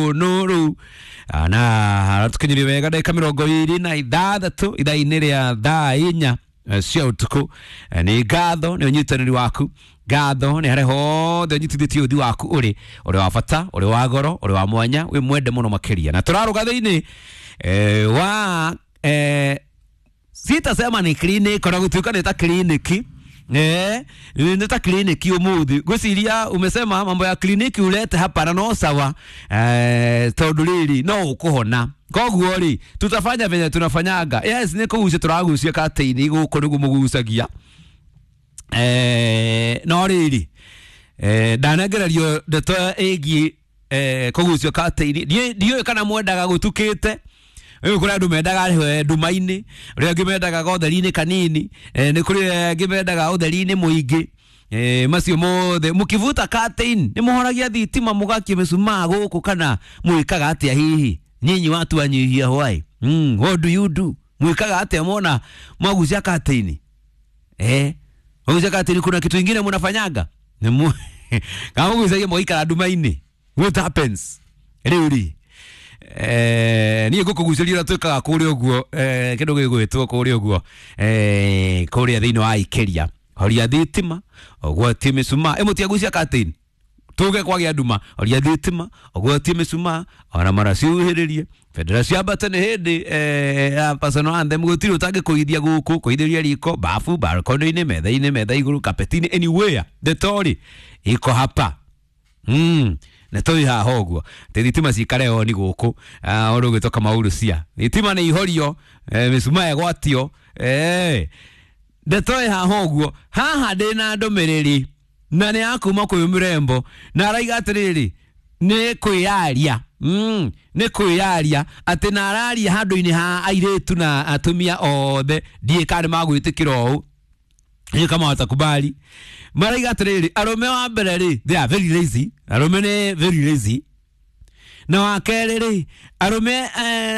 Nuru na tukinyirie wega ndagika 26 ithaa-inĩ rĩa thaa 4 cia ũtukũ. Nĩ ngatho nĩ ũnyitanĩri waku, ngatho nĩ harĩa hothe ũnyitithĩtie ũthi waku ũrĩ ũrĩ wa bata, ũrĩ wa goro, ũrĩ wa mwanya, wĩ mwende mũno makĩria. Na tũrarũga thĩinĩ wa sitasema ni clinic ona gũtuĩka nĩ ta kliniki, nĩ ta kliniki ũmũthĩ. Ngwĩciria umesema mambo ya kliniki ulete hapa na no sawa, tondũ rĩrĩ no ũkũhona. Koguo rĩ tutafanya venye tunafanyaga. Yes, nĩ kũgucia tũragucia katĩini gũkũ nĩguo mũgucagia. No rĩrĩ ndanengererio ndeto ĩgiĩ kũgucio katĩini. Ndiũĩ kana mwendaga gũtukĩte. Rĩu kũrĩ andũ mendaga nduma-inĩ, ũrĩa angĩ mendaga ũtheri-inĩ kanini, nĩ kũrĩ angĩ mendaga ũtheri-inĩ mũingĩ. Macio mothe mũkivuta curtain nĩ mũhoragia thitima mũgakia mĩcumaa gũkũ kana mwĩkaga atĩa hihi? Nyinyi watu wanyihia hwai. What do you do? Mwĩkaga atĩa mwona mwagucia curtain? Mwagucia curtain kuna kitu ingine mnafanyaga? Kama mũgucagia mũgaikara nduma-inĩ. What happens? Rĩu rĩ niä ngå kå gucä ria å rä a twä kaga kå rä å guo kä ndå gä gwä two kå rä å guo kå rä a thä inä wa ikäria horia thitima ũgwatie mĩcumaa ä må tiagucia curtain tuge kwagĩa nduma horia thitima ũgwatie mĩcumaa ona mara ciuhĩrĩrie bendera ciambate nĩ hĩndĩ ya personal anthem gũtirĩ ũtangĩkũithia gũkũ kũithĩria riko bafu balcony-inĩ metha-inĩ metha igũrũ kapeti-inĩ anywhere ndeto-rĩ iko hapa. Na tũrĩ haha ũguo atĩ thitima cikare oni gũkũ ũndũ ũgwĩtwo Kamau cia thitima nĩ ihorio, mĩcumaa ĩgwatio, ndeto ĩ haha ũguo. Haha ndĩna ndũmĩrĩri na nĩ ya kuma kwĩ mũrembo na araiga atĩrĩrĩ nĩ kwĩyaria, nĩ kwĩyaria atĩ na araria handũ-inĩ ha airĩtu na atumia othe ndiĩ kana nĩ magwĩtĩkĩra ũũ hiyo kama watakubali. Maraiga atĩrĩrĩ arũme wa mbere rĩ they are very lazy, arũme nĩ very lazy. Na wa kerĩ rĩ arũme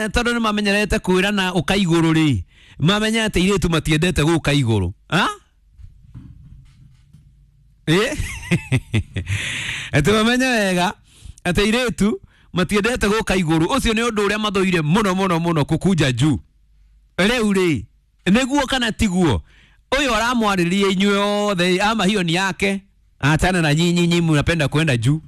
tondũ nĩ mamenyerete kwĩrana ũka igũrũ rĩ mamenyete airĩtu matiendete gũka igũrũ. Atĩ mamenye wega atĩ airĩtu matiendete gũka igũrũ. Ũcio nĩ ũndũ ũrĩa mathũire mũno mũno mũno, kũkunja juu. Rĩu rĩ nĩguo kana tiguo? Ũyũ aramwarĩria inyuĩ othe ama hiyo ni yake, achana na nyinyi, nyinyi mnapenda kwenda juu.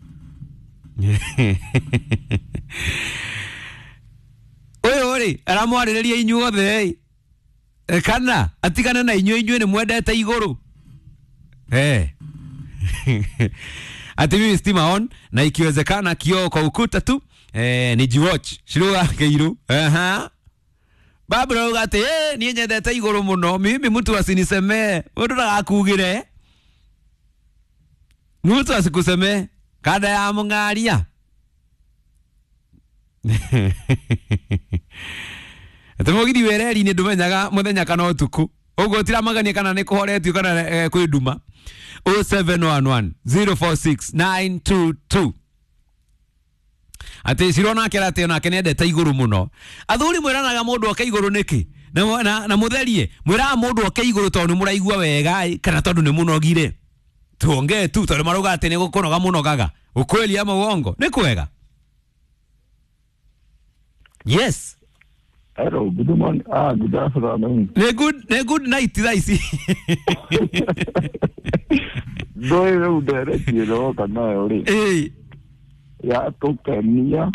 Ũyũ rĩ aramwarĩrĩria inyuĩ othe kana atigane na inyuĩ, inyuĩ nĩ mwendete igũrũ. Ati mimi stima on na ikiwezekana kioo kwa ukuta tu, nijiwatch shiruga keiru. Babra auga atĩ niĩ nyendete igũrũ mũno, mimi mtu asinisemee, mũndũ ndagakugĩre, mtu asikusemee kanda ya mũng'aria. Atĩ mũgithi wĩ reri-inĩ ndũmenyaga mũthenya kana ũtukũ, ũguo ũtiramagania kana nĩ kũhoretio kana kwĩ nduma. 0711 046 922. Atĩ Ciro nake aratĩ onake nĩendete igũrũ mũno. Athuri mwĩranaga mũndũ oke igũrũ nĩkĩ? Na mũtherie mwĩraga mũndũ oke igũrũ tondũ nĩ mũraigua wega kana tondũ nĩ mũnogire? Tuongee tu tondũ marauga atĩ nĩ gũkũnoga mũnogaga. Ukweli ama uongo? Nĩ kwega? Yes. Hello, good morning. Good afternoon. Nĩ good night thaa ici. Ndũĩ rĩu ndereti ĩroka nayo rĩ. Ya tũkenia.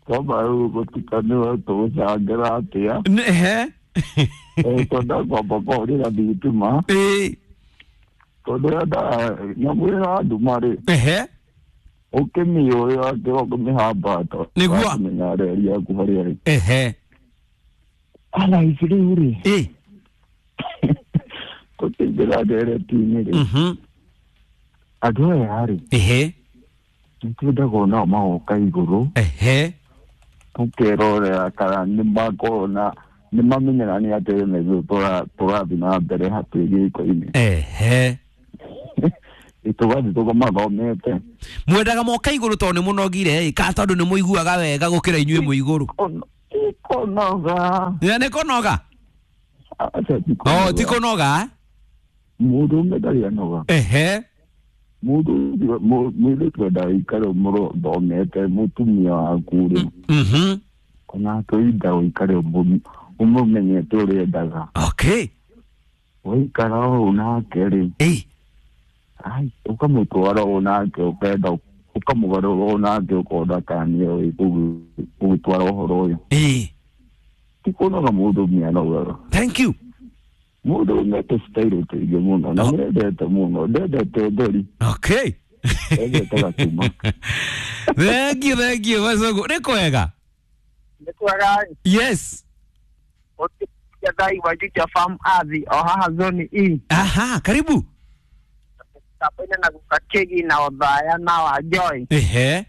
Kwamba rĩu gũtikanĩwe tũgũcangĩra atĩa. Twenda kwamba kũhũrĩra thitima. Tondũ yendaga nyamũ ĩyo ya nduma rĩ. Ũkĩmĩũĩ atĩ ũkĩmĩhambata. Nĩguo. Ũkamenya reri yaku harĩa ĩrĩ. Ala ici rĩu rĩ. Tũkĩingĩra ndereti-inĩ rĩ. Andũ aya rĩ. Nĩtwendaga onao magoka igũrũ. Tũkerorera kana nĩmakorwo na nĩmamenyaga nĩ atĩ na ithuĩ tũrathiĩ na mbere hakuhĩ gĩko-inĩ. Tũgathiĩ tũkamathomete. Mwendaga moka igũrũ tondũ nĩ mũnogire kana tondũ nĩ mũiguaga wega gũkĩra inyuĩ mwĩ igũrũ? Kũnoga. Nĩ kũnoga? Aca ti kũnoga. Ti kũnoga? Mũndũrũme ndarĩ anoga. Mũndũ mũirĩtu endaga ũikare ũmũthomete mũtumia waku rĩ. Mhm. Ona tũinda ũikare ũmũmenyete ũrĩa endaga. Okay. Waikara ũũ nake rĩ. Ĩĩ. Ai, ũkamũtwara ũũ nake ũkenda ũkamũgarũra ũũ nake ũkona kana nĩwe ũgũtwara ũhoro ũyũ. Ĩĩ. Ti kũnoga mũndũ mĩanogaga. Thank you. Mũndũ umĩte style tũingĩ mũno na Oh. nĩendete mũno ndendete ũtheri Okay. endete gacuma. Thank you, thank you. Macogo. Nĩ kwega. Nĩ kwega. Yes. Ũtĩa thai wa farm athi o haha zone E. Aha, karibu. Kapene na gukakegi na othaya na wa joy. Ehe.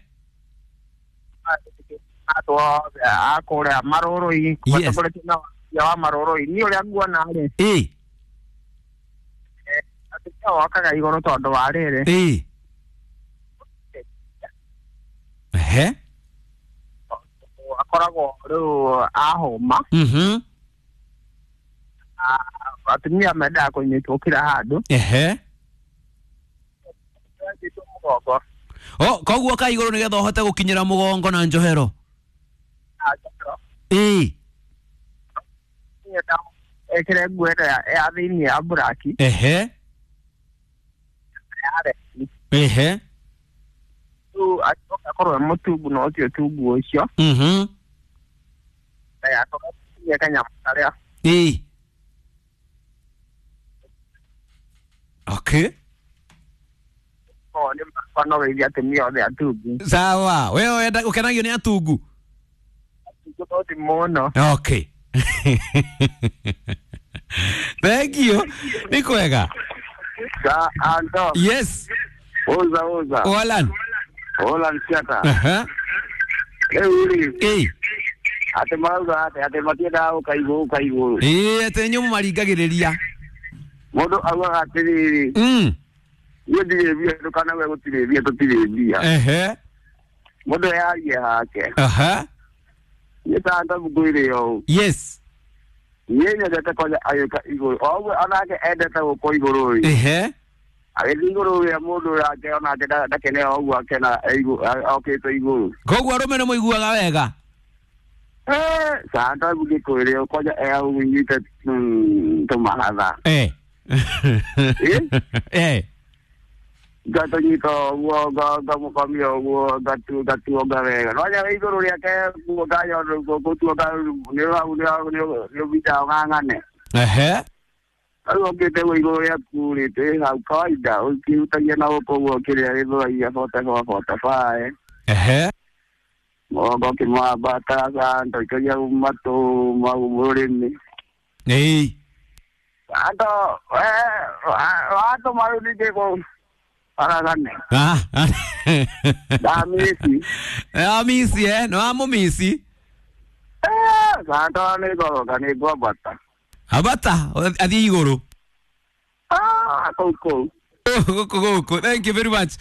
Andũ othe a kũrĩa marũrũ-inĩ Yes. matongoretio na wakia wa marũrũ-inĩ niĩ ũrĩa nguona rĩ Ĩĩ. atumia wokaga igũrũ tondũ wa rĩrĩ Ĩĩ. Ehe. akoragwo rĩu ahũma. Mhm. Atumia mendaga kũnyitwo kila handũ. Ehe. Nyitwo mũgongo. Oh, koguo ka igũrũ nĩgetha ũhote gũkinyĩra mũgongo na njohero. Na njohero. Ĩĩ. Nyenda ĩkĩre nguo ĩrĩa ya thĩiniĩ ya buraki Ehe. ya redi. Ehe. Rĩu acoke akorwo e mũtungu no ti ũtungu ũcio. Mhm. Ndagakorwo akinyia kanyamũ karĩa. Ĩĩ. Okay. Korwo nĩ makwa no geithia atumia othe atungu. Sawa. Wewe wenda ũkenagio nĩ atungu. Atungu no ti mũno. Okay. Thank you. Nĩ kwega. Sa Anto. Yes. Oza oza. Walan. Ola nsiata. Aha. Rĩu rĩ Ĩĩ. atĩ marauga atĩ atĩ matiendaga gũka igũrũ gũka igũrũ. Ĩĩ, atĩ inyuĩ mũmaringagĩrĩria. Mũndũ augaga atĩrĩrĩ niĩ ndirĩ mbia ndũkanauge gũtirĩ mbia tũtirĩ mbia. Ehe. Mũndũ eyarie hake. Aha. Niĩ ta Anto ngwĩre ũũ. Yes. Niĩ nyendete kwanja agĩũka igũrũ o ũguo onake endete gũkwo igũrũ rĩ. Ehe. Agĩthiĩ igũrũ rĩa mũndũ yake onake ndakene o ũguo akena okĩte igũrũ. Koguo arũme nĩ mũiguaga wega. Santa ngĩkwĩre kwanja eaunyite tũmahatha. Eh. Eh? Eh. Ngatũnyita ũguo ngamũkomia ũguo ngatuonga wega nonya wĩ igũrũ rĩake kuonga gũtuonga nĩũbindaga ũng'ang'ane. Ehe. Rĩu ũkĩte guo igũrũ rĩaku rĩ twĩ hau kawaida ũkĩhutagia na gũkũ ũguo kĩrĩa gĩthũragia 44 45. Ehe. Mũgongo ũkĩmwambata Santa ũikagia matũ mau rũrĩmĩ. Ĩĩ. Anto watũma rĩu ningĩ kũ aragane. Ah. Ndamisi. Amisi eh, no amũmisi. Santa nĩ ngoroka nĩ ngwambata. Ambata athiĩ igũrũ. Ah, kũu kũu. Gũkũ gũkũ. Thank you very much.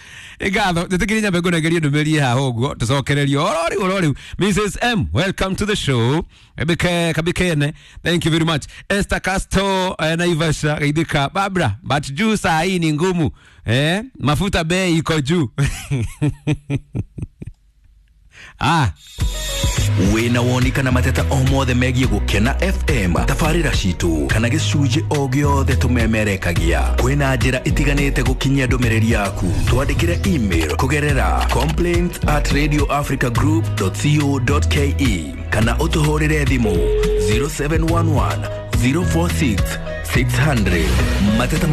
Ngatho njĩtĩkĩrie nyambe ngũnengerie ndũmĩrĩri haha ũguo tũcokererio oro rĩu oro rĩu. Mrs M, welcome to the show. Ebike kabikene. Thank you very much. Esther Castro Naivasha geithĩka. Barbara, but juu saa hii ni ngumu. Eh, mafuta bei iko juu. Ah. Wĩna woni kana mateta o mothe megiĩ Gũkena FM tabarĩra citũ kana gĩcunjĩ o gĩothe tũmemerekagia kwĩna njĩra itiganĩte gũkinyia ndũmĩrĩri yaku twandĩkĩre email kũgerera complaints@radioafricagroup.co.ke kana ũtũhũrĩre thimũ 0711 046 600 mateta.